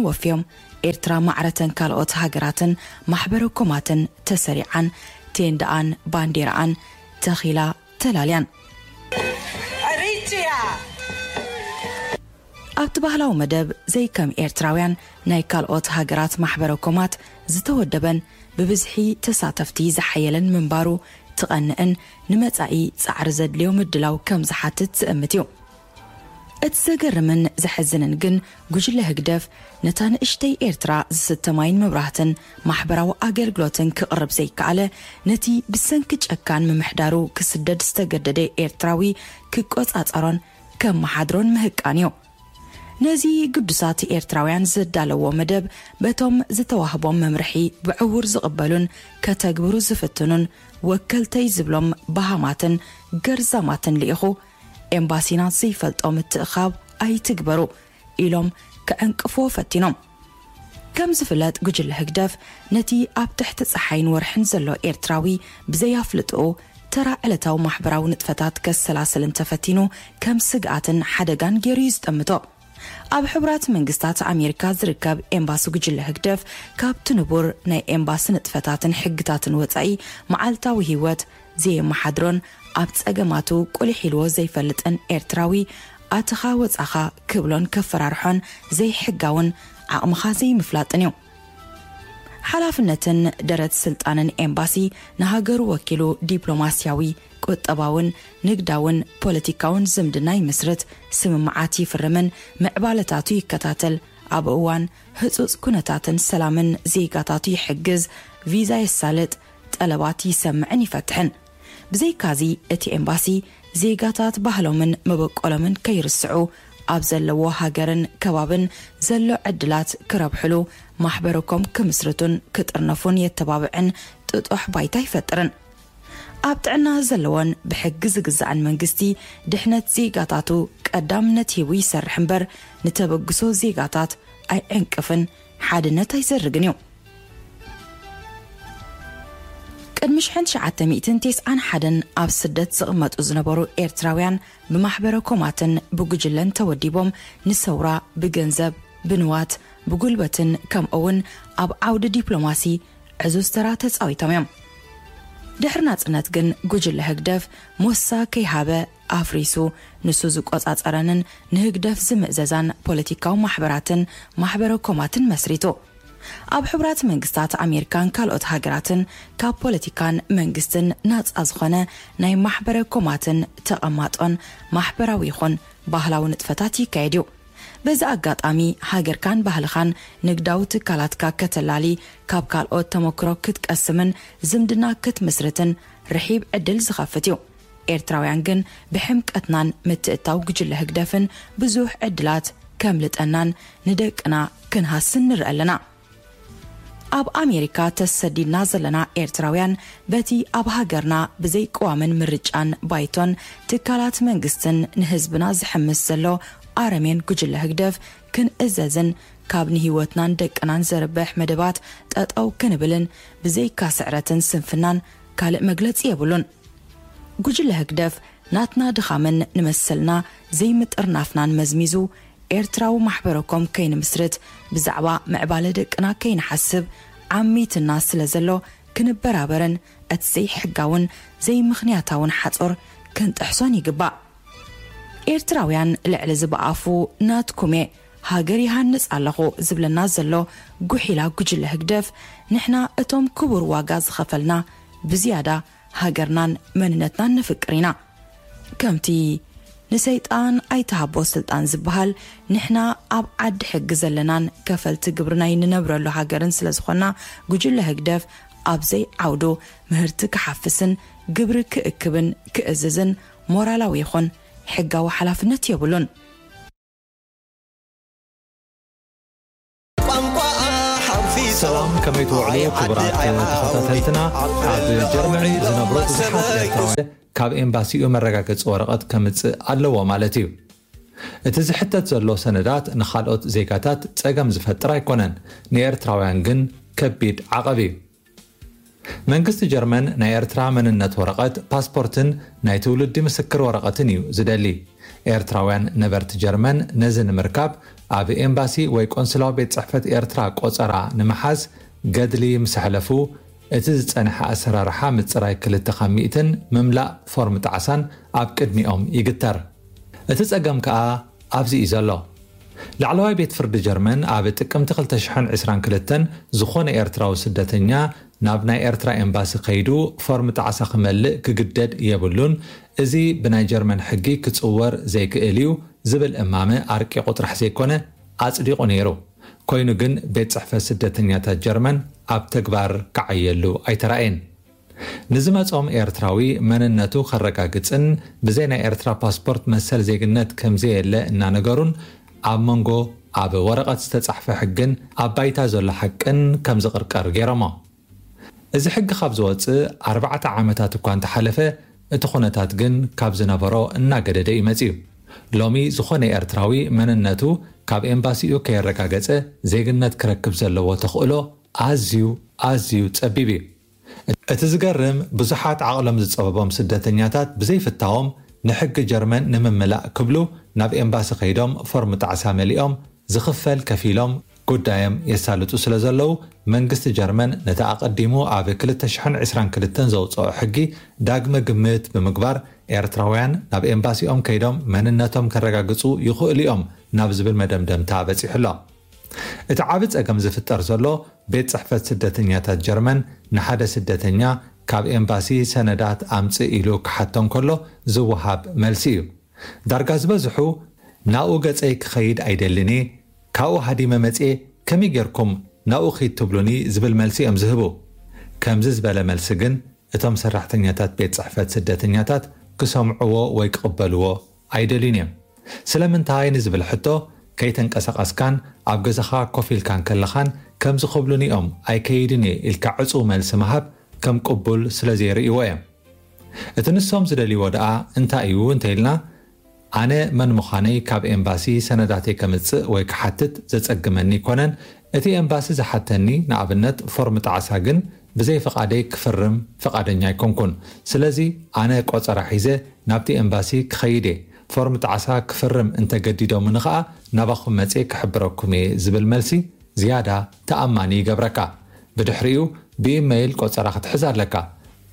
ወፍዮም፣ ኤርትራ ማዕረተን ካልኦት ሃገራትን ማሕበረ ኮማትን ተሰሪዓን፣ ቴንዳኣን ባንዴራኣን ተኺላ ተላልያን። ኣብቲ ባህላዊ መደብ፣ ዘይከም ኤርትራውያን፣ ናይ ካልኦት ሃገራት ማሕበረ ኮማት ዝተወደበን ብብዝሒ ተሳተፍቲ ዝሓየለን ምንባሩ ትቐንእን፣ ንመጻኢ ጻዕሪ ዘድልዮ ምድላው ከም ዝሓትት ዝእምት እዩ። እቲ ዘገርምን ዘሕዝንን ግን፣ ጉጅለ ህግደፍ ነታ ንእሽተይ ኤርትራ ዝስተ ማይን መብራህትን ማሕበራዊ ኣገልግሎትን ክቕርብ ዘይከኣለ፣ ነቲ ብሰንኪ ጨካን ምምሕዳሩ ክስደድ ዝተገደደ ኤርትራዊ ክቆጻጸሮን ከመሓድሮን ምህቃን እዩ። ነዚ ግዱሳት ኤርትራውያን ዘዳለዎ መደብ፣ በቶም ዝተዋህቦም መምርሒ ብዕዉር ዝቕበሉን ከተግብሩ ዝፍትኑን ወከልተይ ዝብሎም በሃማትን ገርዛማትን ልኢኹ፣ ኤምባሲና ዘይፈልጦ ምትእኻብ ኣይትግበሩ ኢሎም ክዕንቅፍዎ ፈቲኖም። ከም ዝፍለጥ፣ ጉጅለ ህግደፍ ነቲ ኣብ ትሕቲ ጸሓይን ወርሕን ዘሎ ኤርትራዊ ብዘይ ኣፍልጥኡ ተራ ዕለታዊ ማሕበራዊ ንጥፈታት ከሰላስል እንተፈቲኑ፣ ከም ስግኣትን ሓደጋን ገይሩ እዩ ዝጠምቶ። ኣብ ሕቡራት መንግስታት ኣሜሪካ ዝርከብ ኤምባሲ ጉጅለ ህግደፍ፣ ካብቲ ንቡር ናይ ኤምባሲ ንጥፈታትን ሕግታትን ወጻኢ፣ መዓልታዊ ህይወት ዘየመሓድሮን ኣብ ጸገማቱ ቁሊሕ ኢልዎ ዘይፈልጥን ኤርትራዊ፣ ኣተኻ ወጻኻ ክብሎን ከፈራርሖን ዘይሕጋውን ዓቕምኻ ዘይምፍላጥን እዩ። ሓላፍነትን ደረት ስልጣንን ኤምባሲ፣ ንሃገሩ ወኪሉ ዲፕሎማስያዊ፣ ቁጠባውን ንግዳውን ፖለቲካውን ዝምድና ይምስርት፣ ስምምዓት ይፍርምን ምዕባለታቱ ይከታተል፣ ኣብ እዋን ህጹጽ ኩነታትን ሰላምን ዜጋታቱ ይሕግዝ፣ ቪዛ የሳልጥ፣ ጠለባት ይሰምዕን ይፈትሕን። ብዘይካዚ፣ እቲ ኤምባሲ ዜጋታት ባህሎምን መበቆሎምን ከይርስዑ፣ ኣብ ዘለዎ ሃገርን ከባብን ዘሎ ዕድላት ክረብሕሉ፣ ማሕበረኮም ክምስርቱን ክጥርነፉን የተባብዕን ጥጡሕ ባይታ ይፈጥርን። ኣብ ጥዕና ዘለዎን ብሕጊ ዝግዛእን መንግስቲ፣ ድሕነት ዜጋታቱ ቀዳምነት ሂቡ ይሰርሕ እምበር፣ ንተበግሶ ዜጋታት ኣይዕንቅፍን፣ ሓድነት ኣይዘርግን እዩ። ቅድሚ ሽሕን ትሽዓተ ሚእትን ተስዓን ሓደን ኣብ ስደት ዝቕመጡ ዝነበሩ ኤርትራውያን፣ ብማሕበረ ኮማትን ብጉጅለን ተወዲቦም፣ ንሰውራ ብገንዘብ፣ ብንዋት፣ ብጉልበትን ከምኡውን ኣብ ዓውዲ ዲፕሎማሲ ዕዙዝ ተራ ተጻዊቶም እዮም። ድሕሪ ናጽነት ግን፣ ጉጅለ ህግደፍ ሞሳ ከይሃበ ኣፍሪሱ፣ ንሱ ዝቆጻጸረንን ንህግደፍ ዝምእዘዛን ፖለቲካዊ ማሕበራትን ማሕበረ ኮማትን መስሪቱ። ኣብ ሕቡራት መንግስታት ኣሜሪካን ካልኦት ሃገራትን ካብ ፖለቲካን መንግስትን ናጻ ዝኾነ ናይ ማሕበረ ኮማትን ተቐማጦን ማሕበራዊ ይኹን ባህላዊ ንጥፈታት ይካየድ እዩ። በዚ ኣጋጣሚ፣ ሃገርካን ባህልኻን ንግዳዊ ትካላትካ ከተላሊ፣ ካብ ካልኦት ተመክሮ ክትቀስምን ዝምድና ክትምስርትን ርሒብ ዕድል ዝኸፍት እዩ። ኤርትራውያን ግን፣ ብሕምቀትናን ምትእትታው ጉጅለ ህግደፍን ብዙሕ ዕድላት ከምልጠናን ንደቅና ክንሃስን ንርኢ ኣለና። ኣብ ኣሜሪካ ተሰዲድና ዘለና ኤርትራውያን፣ በቲ ኣብ ሃገርና ብዘይ ቅዋምን ምርጫን ባይቶን ትካላት መንግስትን ንህዝብና ዝሕምስ ዘሎ ኣረሜን ጉጅለ ህግደፍ ክንእዘዝን፣ ካብ ንህይወትናን ደቅናን ዘርብሕ መደባት ጠጠው ክንብልን፣ ብዘይካ ስዕረትን ስንፍናን ካልእ መግለጺ የብሉን። ጉጅለ ህግደፍ ናትና ድኻምን ንመሰልና ዘይምጥርናፍናን መዝሚዙ፣ ኤርትራዊ ማሕበረኮም ከይንምስርት፣ ብዛዕባ ምዕባለ ደቅና ከይንሓስብ ዓሚትና ስለ ዘሎ፣ ክንበራበርን እቲ ዘይሕጋውን ዘይምኽንያታውን ሓጾር ክንጥሕሶን ይግባእ። ኤርትራውያን፣ ልዕሊ እዚ ብኣፉ ናትኩም እየ፣ ሃገር ይሃንጽ ኣለኹ ዝብለና ዘሎ ጉሒላ ጉጅለ ህግደፍ፣ ንሕና እቶም ክቡር ዋጋ ዝኸፈልና፣ ብዝያዳ ሃገርናን መንነትናን ነፍቅር ኢና። ከምቲ ንሰይጣን ኣይትሃቦ ስልጣን ዝበሃል፣ ንሕና ኣብ ዓዲ ሕጊ ዘለናን ከፈልቲ ግብሪ ናይ ንነብረሉ ሃገርን ስለ ዝኾንና፣ ጉጅለ ህግደፍ ኣብ ዘይዓውዱ ምህርቲ ክሓፍስን ግብሪ ክእክብን ክእዝዝን ሞራላዊ ይኹን ሕጋዊ ሓላፍነት የብሉን። ቋንቋኣ ሓንፊጾም ሰላም፣ ከመይ ትውዕሉ ክቡራት ተኸታተልትና? ኣብ ጀርመን ዝነብሩ ብዙሓት ኤርትራውያን ካብ ኤምባሲኡ መረጋገጺ ወረቐት ከምጽእ ኣለዎ ማለት እዩ። እቲ ዝሕተት ዘሎ ሰነዳት ንኻልኦት ዜጋታት ጸገም ዝፈጥር ኣይኮነን፣ ንኤርትራውያን ግን ከቢድ ዓቐብ እዩ። መንግስቲ ጀርመን ናይ ኤርትራ መንነት ወረቐት፣ ፓስፖርትን ናይ ትውልዲ ምስክር ወረቐትን እዩ ዝደሊ። ኤርትራውያን ነበርቲ ጀርመን ነዚ ንምርካብ ኣብ ኤምባሲ ወይ ቆንስላዊ ቤት ጽሕፈት ኤርትራ ቆጸራ ንምሓዝ ገድሊ ምስ ኣሕለፉ፣ እቲ ዝጸንሐ ኣሰራርሓ ምጽራይ ክልተ ካብ ሚእትን ምምላእ ፎርም ጣዕሳን ኣብ ቅድሚኦም ይግተር። እቲ ጸገም ከኣ ኣብዚ እዩ ዘሎ። ላዕለዋይ ቤት ፍርዲ ጀርመን ኣብ ጥቅምቲ ክልተ ሽሕን ዕስራን ክልተን ዝኾነ ኤርትራዊ ስደተኛ ናብ ናይ ኤርትራ ኤምባሲ ከይዱ ፎርም ጣዕሳ ክመልእ ክግደድ የብሉን፣ እዚ ብናይ ጀርመን ሕጊ ክጽወር ዘይክእል እዩ ዝብል እማመ ኣርቂቑ ጥራሕ ዘይኮነ ኣጽዲቑ ነይሩ። ኮይኑ ግን ቤት ጽሕፈት ስደተኛታት ጀርመን ኣብ ተግባር ክዓየሉ ኣይተራእየን። ንዝመጾም ኤርትራዊ መንነቱ ከረጋግጽን ብዘይ ናይ ኤርትራ ፓስፖርት መሰል ዜግነት ከምዘየለ እናነገሩን ኣብ መንጎ ኣብ ወረቐት ዝተጻሕፈ ሕግን ኣብ ባይታ ዘሎ ሓቅን ከም ዝቕርቀር ገይሮሞ። እዚ ሕጊ ካብ ዝወጽእ ኣርባዕተ ዓመታት እኳ እንተሓለፈ፣ እቲ ኩነታት ግን ካብ ዝነበሮ እናገደደ እዩ መጺኡ። ሎሚ ዝኾነ ኤርትራዊ መንነቱ ካብ ኤምባሲኡ ከየረጋገጸ ዜግነት ክረክብ ዘለዎ ተኽእሎ ኣዝዩ ኣዝዩ ጸቢብ እዩ። እቲ ዝገርም፣ ብዙሓት ዓቕሎም ዝጸበቦም ስደተኛታት ብዘይፍታዎም ንሕጊ ጀርመን ንምምላእ ክብሉ ናብ ኤምባሲ ከይዶም ፎርም ጣዕሳ መሊኦም ዝኽፈል ከፊሎም ጉዳዮም የሳልጡ ስለ ዘለዉ፣ መንግስቲ ጀርመን ነቲ ኣቐዲሙ ኣብ ክልተ ሽሕን ዕስራን ክልተን ዘውጽኦ ሕጊ ዳግመ ግምት ብምግባር፣ ኤርትራውያን ናብ ኤምባሲኦም ከይዶም መንነቶም ከረጋግጹ ይኽእሉ እዮም ናብ ዝብል መደምደምታ በጺሑ ኣሎ። እቲ ዓቢ ጸገም ዝፍጠር ዘሎ፣ ቤት ጽሕፈት ስደተኛታት ጀርመን ንሓደ ስደተኛ ካብ ኤምባሲ ሰነዳት ኣምጽእ ኢሉ ክሓቶ እንከሎ ዝወሃብ መልሲ እዩ። ዳርጋ ዝበዝሑ፣ "ናብኡ ገጸይ ክኸይድ ኣይደልን እየ፣ ካብኡ ሃዲመ መጽየ፣ ከመይ ጌርኩም ናብኡ ኺድ ትብሉኒ?" ዝብል መልሲ እዮም ዝህቡ። ከምዚ ዝበለ መልሲ ግን እቶም ሰራሕተኛታት ቤት ጽሕፈት ስደተኛታት ክሰምዕዎ ወይ ክቕበልዎ ኣይደልዩን እዮም። ስለምንታይ ንዝብል ሕቶ፣ ከይተንቀሳቐስካን ኣብ ገዛኻ ኮፍ ኢልካን ከለኻን ከምዚ ክብሉኒ እዮም ኣይከይድን እየ ኢልካ ዕጹው መልሲ ምሃብ ከም ቅቡል ስለ ዘይርእይዎ እዮም። እቲ ንሶም ዝደልይዎ ደኣ እንታይ እዩ እንተኢልና፣ ኣነ መን ምዃነይ ካብ ኤምባሲ ሰነዳተይ ከምጽእ ወይ ክሓትት ዘጸግመኒ ኣይኮነን። እቲ ኤምባሲ ዝሓተኒ ንኣብነት ፎርም ጣዕሳ ግን ብዘይ ፍቓደይ ክፍርም ፍቓደኛ ኣይኮንኩን። ስለዚ ኣነ ቆጸራ ሒዘ ናብቲ ኤምባሲ ክኸይድ እየ። ፎርም ጣዕሳ ክፍርም እንተገዲዶምኒ ኸኣ ናባኹም መጽየ ክሕብረኩም እየ ዝብል መልሲ ዝያዳ ተኣማኒ ይገብረካ። ብድሕሪኡ ብኢመይል ቆጸራ ክትሕዝ ኣለካ።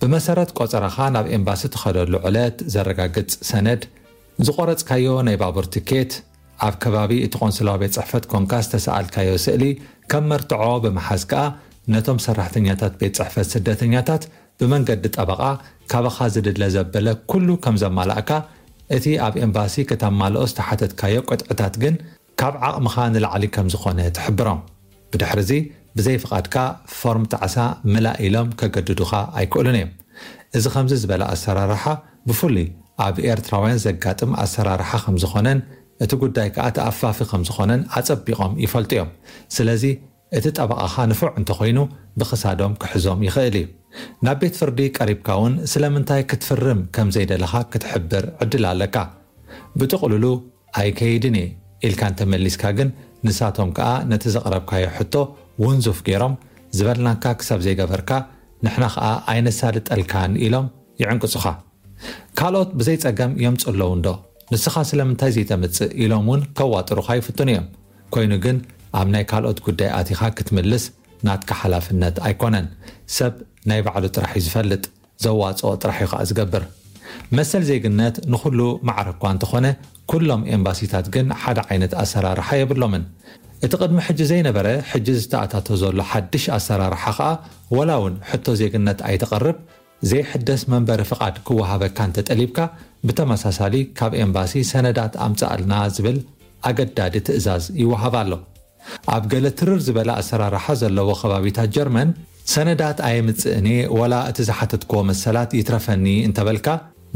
ብመሰረት ቆጸራኻ ናብ ኤምባሲ ትኸደሉ ዕለት ዘረጋግጽ ሰነድ፣ ዝቆረጽካዮ ናይ ባቡር ትኬት፣ ኣብ ከባቢ እቲ ቆንስላዊ ቤት ጽሕፈት ኮንካ ዝተሰኣልካዮ ስእሊ ከም መርትዖ ብምሓዝ ከኣ ነቶም ሰራሕተኛታት ቤት ጽሕፈት ስደተኛታት ብመንገዲ ጠበቓ ካባኻ ዝድለ ዘበለ ኩሉ ከም ዘማላእካ፣ እቲ ኣብ ኤምባሲ ክተማልኦ ዝተሓተትካዮ ቅጥዕታት ግን ካብ ዓቕምኻ ንላዕሊ ከም ዝኾነ ትሕብሮም። ብድሕርዚ ብዘይ ፍቓድካ ፎርም ጣዕሳ ምላእ ኢሎም ከገድዱኻ ኣይክእሉን እዮም። እዚ ከምዚ ዝበለ ኣሰራርሓ ብፍሉይ ኣብ ኤርትራውያን ዘጋጥም ኣሰራርሓ ከም ዝኾነን እቲ ጉዳይ ከኣ ተኣፋፊ ከም ዝኾነን ኣጸቢቖም ይፈልጡ እዮም። ስለዚ እቲ ጠበቓኻ ንፉዕ እንተኾይኑ ብኽሳዶም ክሕዞም ይኽእል እዩ። ናብ ቤት ፍርዲ ቀሪብካ እውን ስለምንታይ ክትፍርም ከም ዘይደለኻ ክትሕብር ዕድል ኣለካ። ብጥቕሉሉ ኣይከይድን እየ ኢልካ እንተመሊስካ ግን፣ ንሳቶም ከኣ ነቲ ዘቕረብካዮ ሕቶ ውንዙፍ ገይሮም፣ ዝበልናካ ክሳብ ዘይገበርካ ንሕና ከኣ ኣይነሳልጠልካን ኢሎም ይዕንቅጹኻ። ካልኦት ብዘይ ጸገም የምጽኡ ኣለዉ እንዶ፣ ንስኻ ስለምንታይ ዘይተምጽእ ኢሎም እውን ከዋጥሩኻ ይፍትኑ እዮም። ኮይኑ ግን ኣብ ናይ ካልኦት ጉዳይ ኣቲኻ ክትምልስ ናትካ ሓላፍነት ኣይኮነን። ሰብ ናይ ባዕሉ ጥራሕ እዩ ዝፈልጥ፣ ዘዋጽኦ ጥራሕ እዩ ከኣ ዝገብር። መሰል ዜግነት ንኹሉ ማዕረ እኳ እንተኾነ፣ ኩሎም ኤምባሲታት ግን ሓደ ዓይነት ኣሰራርሓ የብሎምን። እቲ ቅድሚ ሕጂ ዘይነበረ፣ ሕጂ ዝተኣታቶ ዘሎ ሓድሽ ኣሰራርሓ ከኣ፣ ወላ እውን ሕቶ ዜግነት ኣይተቕርብ፣ ዘይሕደስ መንበሪ ፍቓድ ክወሃበካ እንተጠሊብካ፣ ብተመሳሳሊ ካብ ኤምባሲ ሰነዳት ኣምጽኣልና ዝብል ኣገዳዲ ትእዛዝ ይወሃብ ኣሎ። ኣብ ገለ ትርር ዝበለ ኣሰራርሓ ዘለዎ ከባቢታት ጀርመን፣ ሰነዳት ኣየምጽእን እየ፣ ወላ እቲ ዝሓተትክዎ መሰላት ይትረፈኒ እንተበልካ፣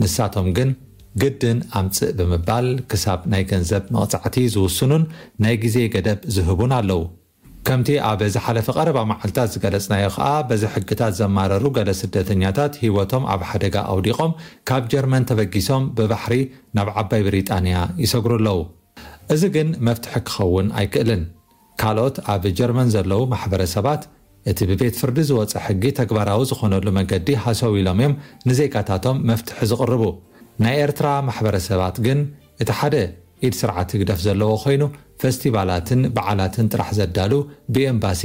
ንሳቶም ግን ግድን ኣምጽእ ብምባል ክሳብ ናይ ገንዘብ መቕጻዕቲ ዝውስኑን ናይ ግዜ ገደብ ዝህቡን ኣለዉ። ከምቲ ኣብ ዝሓለፈ ቀረባ መዓልታት ዝገለጽናዮ ከኣ፣ በዚ ሕግታት ዘማረሩ ገለ ስደተኛታት ህይወቶም ኣብ ሓደጋ ኣውዲቖም ካብ ጀርመን ተበጊሶም ብባሕሪ ናብ ዓባይ ብሪጣንያ ይሰግሩ ኣለዉ። እዚ ግን መፍትሒ ክኸውን ኣይክእልን። ካልኦት ኣብ ጀርመን ዘለዉ ማሕበረሰባት፣ እቲ ብቤት ፍርዲ ዝወጸ ሕጊ ተግባራዊ ዝኾነሉ መገዲ ሃሰው ኢሎም እዮም ንዜጋታቶም መፍትሒ ዝቕርቡ። ናይ ኤርትራ ማሕበረሰባት ግን፣ እቲ ሓደ ኢድ ስርዓት ህግደፍ ዘለዎ ኮይኑ፣ ፈስቲቫላትን በዓላትን ጥራሕ ዘዳሉ፣ ብኤምባሲ